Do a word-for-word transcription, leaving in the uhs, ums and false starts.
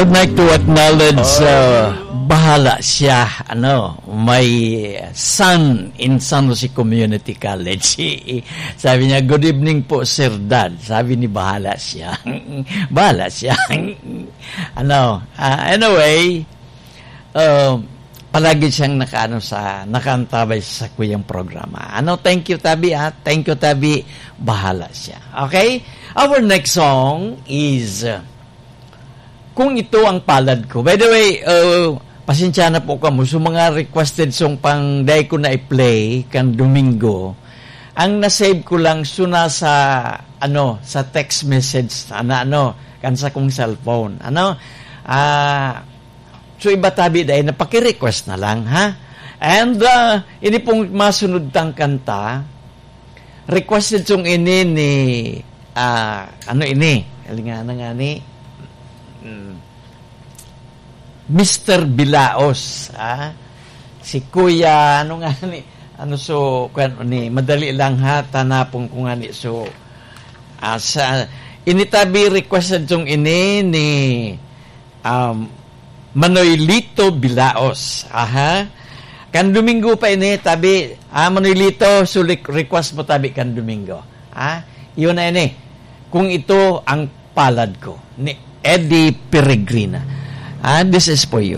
Like to acknowledge, uh, bahala siya, ano, my son in San Jose Community College. Sabi niya, "Good evening po, Sir Dad." Sabi ni bahala siya. Bahala siya. Ano, ah, anyway, uh, palagi siyang nakaano sa, nakaantabay sa kuyang programa. Ano, thank you, Tabi, ah. Thank you, Tabi. Bahala siya. Okay? Our next song is, uh, Kung Ito Ang Palad Ko. By the way, uh, pasensya na po kamo. So, mga requested song pang dai ko na i-play kan Domingo. Ang na-save ko lang, so, nasa, ano, sa text message, sana, ano, kan sa kong cellphone. Ano? Ah, so, iba tabi dai, napaki-request na lang, ha? And, uh, ini pong masunod tang kanta, requested song ini ni, ah, ano ini? Alingana nga ni, mm, Mister Bilaos, ah. Si Kuya, ano nga ni? Ano so, kwan ni, madali lang ha, tanapon ko nga ni. So, ah, sa, ini tabi requested song ini ni, um, Manoy Lito Bilaos. Aha. Kan Domingo pa ini, tabi, ah, Manoy Lito, so re-, request mo tabi kan Domingo. Ah, yun na ini. Kung Ito Ang Palad Ko, ni Eddie Peregrina. Ah, this is for you.